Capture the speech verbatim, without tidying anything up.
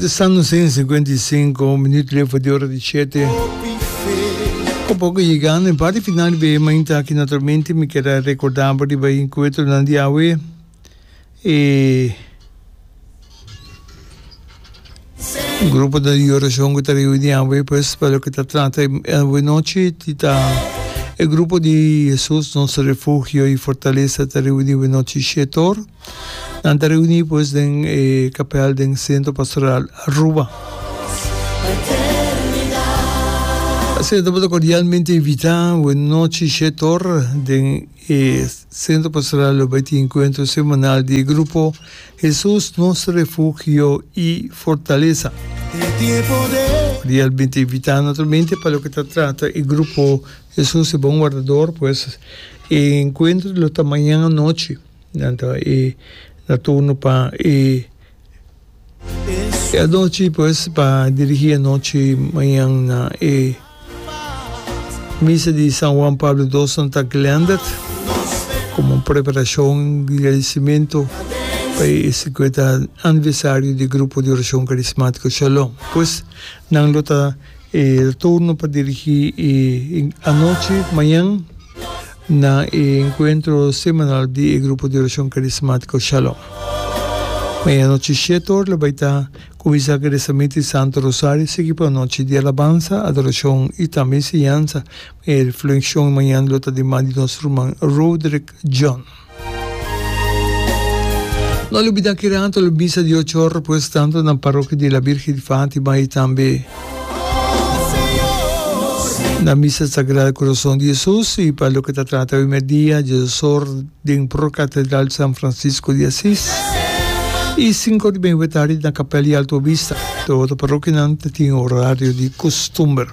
Contestando cincuenta y cinco minuut leu di ora di shete. Poco poco yegando na parti final di mainta aki, naturalmente mi kier recorda di e encuentro di awe e grupo di oracion cu ta reuni awe, pues, pa loke ta trata awe nochi ta e grupo di Jesus Nos Refugio y Fortaleza ta reuni awe nochi shet'or. Nan ta reuni, pues, den eh, kapel den Centro Pastoral Aruba. Asina ta cordialmente invita awe nochi shet'or den eh, Centro Pastoral lo tin encuentro semanal di grupo Jesus Nos Refugio y Fortaleza. Cordialmente invita, naturalmente, pa loke ta trata e grupo Jesus e Bon Wardador, pues e encuentro lo ta mañan anochi. Anto, e na turno pa e e anochi, pues, pa dirigi anochi mañan na e misa di San Juan Pablo segundo Santa Glendert como preparacion di agradecimento pa e cincuenta aniversario di Grupo di Oracion Carismatico Shalom. Pues, nan lo ta e turno pa dirigi e anochi mañan na encuentro semanal di Grupo di Oracion Carismatico Shalom. Mañan anochi shet'or lo bay ta cuminsa cu rezamento di Santo Rosario, sigui pa anochi di alabansa, adoracion y tambe enseñansa. E reflexion mañan lo ta di man di nos ruman Roderick John. No lubida cu ranto lo misa di ocho or, pues, tanto na parokia di La Virgen di Fatima y tambe na Misa Sagrado Corazón di Jesus, y pa loke ta trata e merdia, diesdos or den Pro Catedral San Francisco di Assis y cinco di mei tardi na Capella Alto Vista. Tur parokianan tin horario di custumber.